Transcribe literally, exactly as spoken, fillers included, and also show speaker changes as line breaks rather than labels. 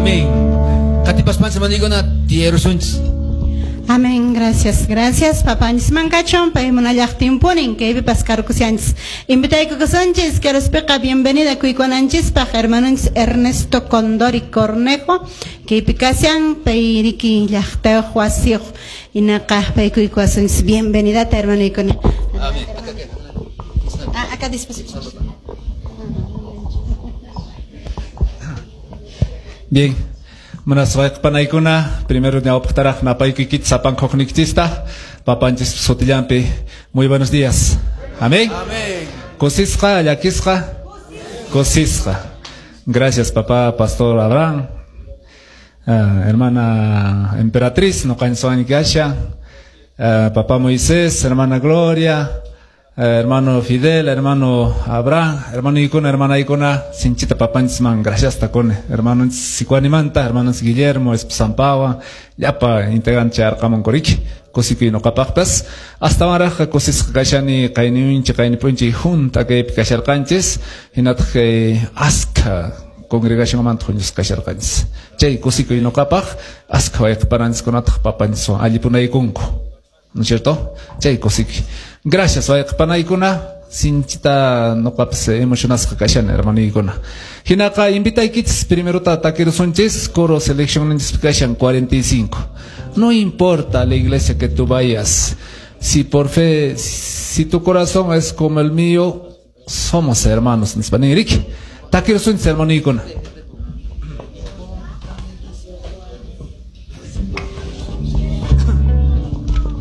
Amén. Qatipaspanchis hermanoykuna tiyaykusunchis.
Amén, gracias, gracias. Papanchis mankachon, paymunallaqtinpunin, kaypipas karkushanchis. Invitaykukusunchis, keruspiqa bienvenida kuykuwananchispaq, hermanonchis Ernesto Condori Cornejo, kaypi kashan, payriki llaqtayuq wasiyuq, inaqa paykuykuwasunchis. Bienvenidata, hermanoykuna.
Amén.
Ah, acá después.
Bien. Buenas panaykuna, primero ñawpaqtaraq napaykuykichis sapanqoqnikichista, papanchis sutillanpi. Muy buenos días. Amén.
Amén.
Kusisqa, llakisqa, kusisqa. Gracias, papá pastor Abraham, uh, hermana Emperatriz, noqanchis kasha, uh, papá Moisés, hermana Gloria, uh, hermano Fidel, hermano Abraham, hermano Ikuna, hermana Ikuna, sinchita papanchisman, gracias takone, hermano Sikuanimanta, hermano Guillermo, Sampawa, llapa integrante arqamun koriki, kusikuy noqapaqpas, hasta waraqqa kusisqa kashani qayniunchi qaynipunchi junta kaypi kasharqanchis, hinataq kay askha congregacionmanta huñusqa kasharqanchis. Chay kusikuy noqapaq, askha wayqipananchiskunataq papanchiswan allipunaykunku. ¿No es cierto? Chay kusikuy. Gracias, wayqipanaykuna, sinchita noqapas emocionasqa kashani, hermanoykuna. Hinaqa invitaykichis primero takirusunchis, coro selección kashan cuarenta y cinco. No importa la iglesia que tú vayas, si por fe, si tu corazón es como el mío, somos hermanos. Nispaniriki. Takirusunchis, hermanoykuna.